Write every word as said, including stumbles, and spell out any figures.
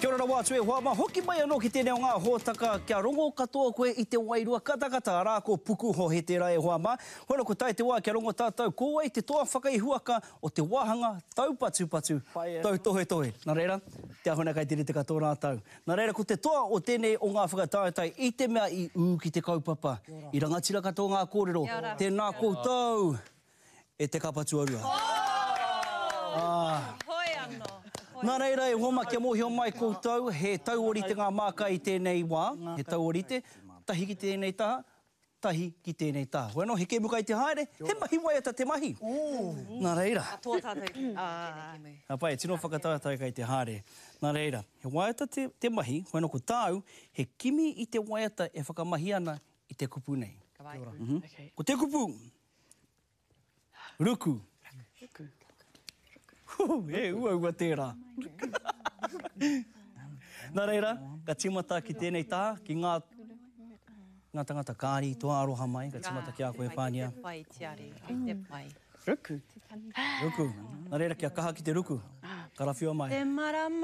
Kia ora rawa atu e hoa mā, hoki mai anō ki tēnei o ngā hōtaka kia rongo katoa koe i te wairua katakata, arā ko Pukuhohe tērā e hoa mā. Hono ko tae te wā kia rongo tātou ko wai te toa whakaihuwaka o te wāhanga taupatupatu, tautohetohe. Nā reira, te ahuna kai te rite katoa rātou. Nā reira, ko te toa o tēnei o ngā whakataetae i te mea i ū ki te kaupapa, i rangatira katoa ngā kōrero, tēnā koutou e te kapa tuarua. Ah. Hoi anō. Nā reira e hoa mā, kia mōhio mai koutou, he tauorite ngā māka i tēnei wā, he tauorite, tahi ki tēnei taha, tahi ki tēnei taha. Hoi anō, he kēmu kai te haere, he mahi waiata te mahi. Nā reira. Katoa tātou i tēnei kēmu. Ka pai, tino whakataetae kai te haere. Nā reira, he waiata te, te mahi, hoi anō ko tāu, he kimi i te waiata e whakamahi ana i te kupu nei. Ka pai. Mm -hmm. Ko te kupu, ruku. Ruku. Hū, he uaua tērā. Nā reira, ka tīmata ki tēnei taha, ki ngā, ngā tangata kāri, toa aroha mai, ka tīmata ki a koe, Pānia. Kei te pai, Tiare, kei te pai. Ruku. Ruku. Nā reira, kia kaha ki te ruku. Karawhiua mai. Te marama.